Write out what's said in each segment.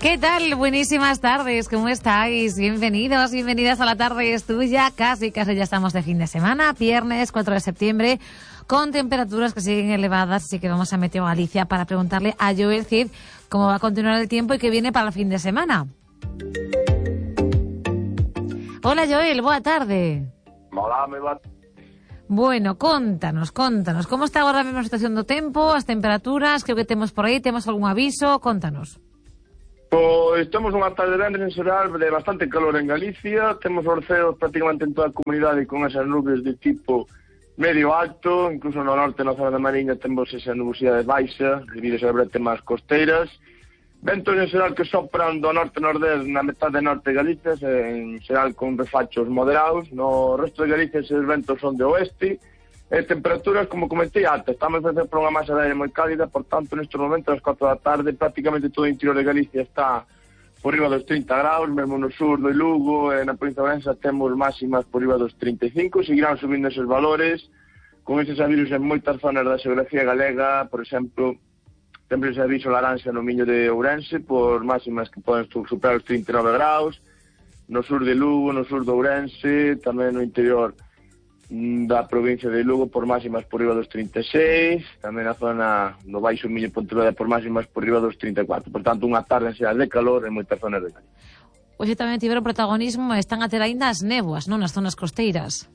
¿Qué tal? Buenísimas tardes, ¿cómo estáis? Bienvenidos, bienvenidas a La Tarde es Tuya. Casi ya estamos de fin de semana, viernes 4 de septiembre, con temperaturas que siguen elevadas, así que vamos a Meteo Galicia para preguntarle a Joel Cid cómo va a continuar el tiempo y qué viene para el fin de semana. Hola Joel, boa tarde. Hola, me va. Bueno, contanos, como está agora mesmo a situación do tempo, as temperaturas, que o que temos por aí, temos algún aviso, contanos. Pois temos unha tarde de venres en xeral de bastante calor en Galicia, temos orceos prácticamente en toda a comunidade con esas nubes de tipo medio alto, incluso no norte, na zona da Mariña, temos esa nubosidade baixa, debido a brete máis costeiras, ventos en xeral que sopran do norte-nordés na metade norte de Galicia, en xeral con refachos moderados, no resto de Galicia esos ventos son de oeste, e temperaturas, como comentei antes, estamos a por unha masa de aire moi cálida, por tanto, nestes momentos, ás 4 da tarde, prácticamente todo o interior de Galicia está por riba dos 30 graus, mesmo no sur do Lugo, e na provincia de Ourense temos máximas por riba dos 35, seguirán subindo esos valores, con eses avisos en moitas zonas da xeografía galega, por exemplo, temos ese aviso laranxa no Miño de Ourense, por máximas que poden superar os 39 graus, no sur de Lugo, no sur de Ourense, tamén no interior da provincia de Lugo por máximas por riba dos 36, tamén na zona no Baixo Miño e Pontevedra por máximas por riba dos 34. Por tanto, unha tarde en xeral de calor en moitas zonas de Galicia. Hoxe tamén tiveron protagonismo, están a ter aínda as néboas, non, nas zonas costeiras.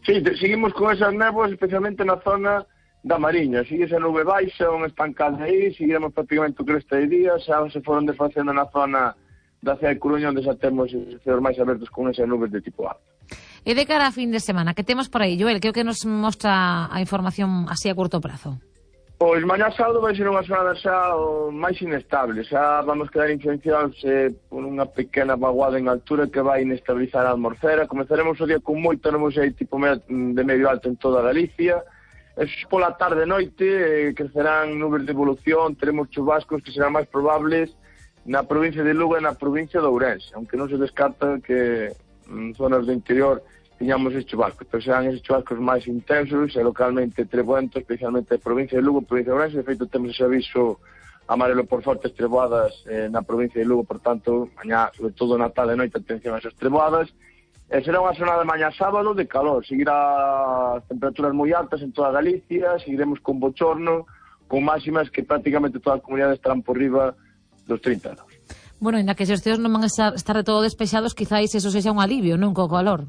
Sí, seguimos con esas néboas, especialmente na zona da Mariña. Sigue esa nube baixa, unha estancada aí, seguiremos prácticamente o cresta de día, xa se foron desfacendo na zona da cidade de Coruña, onde xa temos os ceos máis abertos con esas nubes de tipo alto. E de cara a fin de semana, que temos por aí, Joel? Que é o que nos mostra a información así a curto prazo? Pois mañá sábado vai ser unha xornada xa máis inestable, xa vamos quedar influenciados por unha pequena vaguada en altura que vai inestabilizar a atmosfera. Comezaremos o día con moito nubosidade tipo de medio alto en toda Galicia, e pola tarde e noite crecerán nubes de evolución, teremos chubascos que serán máis probables na provincia de Lugo e na provincia de Ourense, aunque non se descarta que en zonas do interior tiñamos estes chubascos, pero serán estes chubascos máis intensos e localmente trebuentos, especialmente na provincia de Lugo, provincia de Ourense. De feito, temos ese aviso amarelo por fortes treboadas na provincia de Lugo, por tanto, mañá, sobre todo na tarde e noite, atención a esas treboadas. Será unha xornada mañá sábado de calor, seguirá as temperaturas moi altas en toda Galicia, seguiremos con bochorno, con máximas que prácticamente toda a comunidade estarán por riba dos 30 graus. Bueno, ainda que se os ceos non van a estar de todo despexados, quizáis eso sexa un alivio, non, co calor?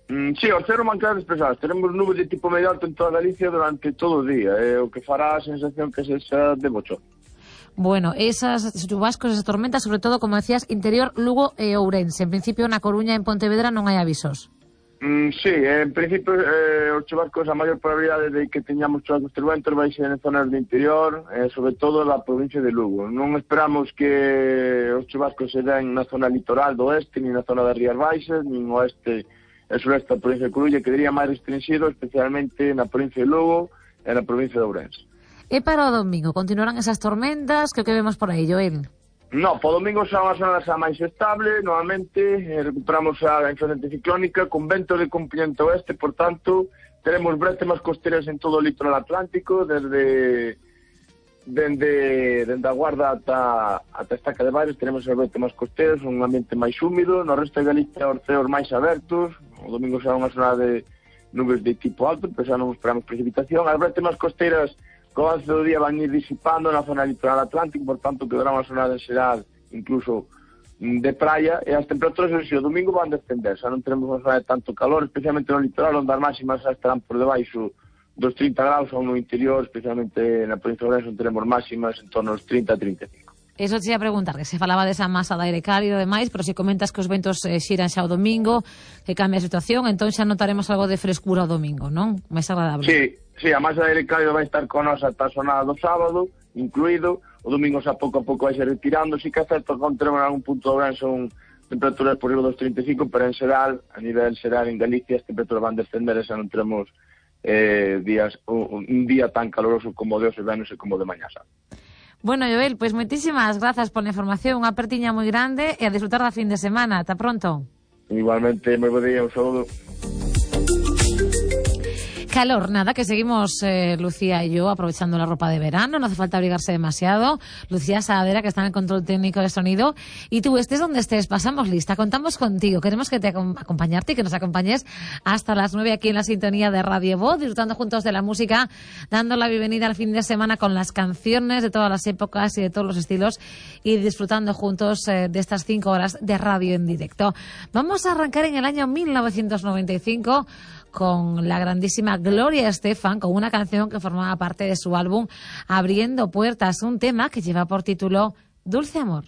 Sí, os ceos van a quedar despejados. Teremos nubes de tipo medio alto en toda Galicia durante todo o día, o que fará a sensación que sexa de bochorno. Bueno, esas chubascos, esas tormentas, sobre todo, como decías, interior Lugo e Ourense. En principio, na Coruña e en Pontevedra non hai avisos. Sí, en principio os chubascos, a maior probabilidade de que teñamos chubascos trebuentos vai ser en zonas do interior, sobre todo na provincia de Lugo. Non esperamos que os chubascos se den na zona litoral do oeste, ni na zona das Rías Baixas, ni no oeste e sureste da provincia de Coruña, que diría máis restringido, especialmente na provincia de Lugo e na provincia de Ourense. E para o domingo, continuarán esas tormentas? Que o que vemos por aí, Joel? No, po domingo será unha zona xa máis estable, novamente, recuperamos a influencia ciclónica con vento de componente oeste, por tanto, teremos bretemas costeras en todo o litoral atlántico, desde a Guarda ata a Estaca de Bares, teremos as bretemas costeras, un ambiente máis húmido, no resto de Galicia os ceos máis abertos, o domingo será unha zona de nubes de tipo alto, pero xa non esperamos precipitación, as bretemas costeras co avance do día van ir disipando na zona litoral atlántico, por tanto quedará unha zona de xeral incluso de praia, e as temperaturas o domingo van descender, xa non teremos unha zona de tanto calor, especialmente no litoral, onde as máximas xa estarán por debaixo dos 30 graus, ou no interior, especialmente na provincia de Ourense, onde teremos máximas en torno aos 30 a 35. Eso te ia preguntar, que se falaba desa masa de aire cálido e demais, pero se comentas que os ventos xiran xa o domingo, que cambia a situación, entón xa notaremos algo de frescura o domingo, non? Máis agradable. Sí, a masa de aire cálido vai estar con nos ata a xornada do sábado, incluído, o domingo xa pouco a pouco vai ser retirando, si que é certo que teremos en algún punto de Ourense son temperaturas por riba dos 35, pero en xeral, a nivel xeral en Galicia, as temperaturas van descender e xa non teremos un día tan caloroso como de hoxe venus e como de mañá sábado. Bueno, Joel, pois moitísimas grazas pola información, unha apertiña moi grande e a disfrutar da fin de semana. Ata pronto. Igualmente, moi bo día, un saúdo. Calor, nada, que seguimos Lucía y yo aprovechando la ropa de verano, no hace falta abrigarse demasiado. Lucía Saadera, que está en el control técnico de sonido, y tú, estés donde estés, pasamos lista, contamos contigo, queremos que te acompañarte y que nos acompañes hasta las 9 aquí en la sintonía de Radio Voz, disfrutando juntos de la música, dando la bienvenida al fin de semana con las canciones de todas las épocas y de todos los estilos, y disfrutando juntos de estas 5 horas de radio en directo. Vamos a arrancar en el año 1995 con la grandísima Gloria Estefan, con una canción que formaba parte de su álbum Abriendo Puertas, un tema que lleva por título Dulce Amor.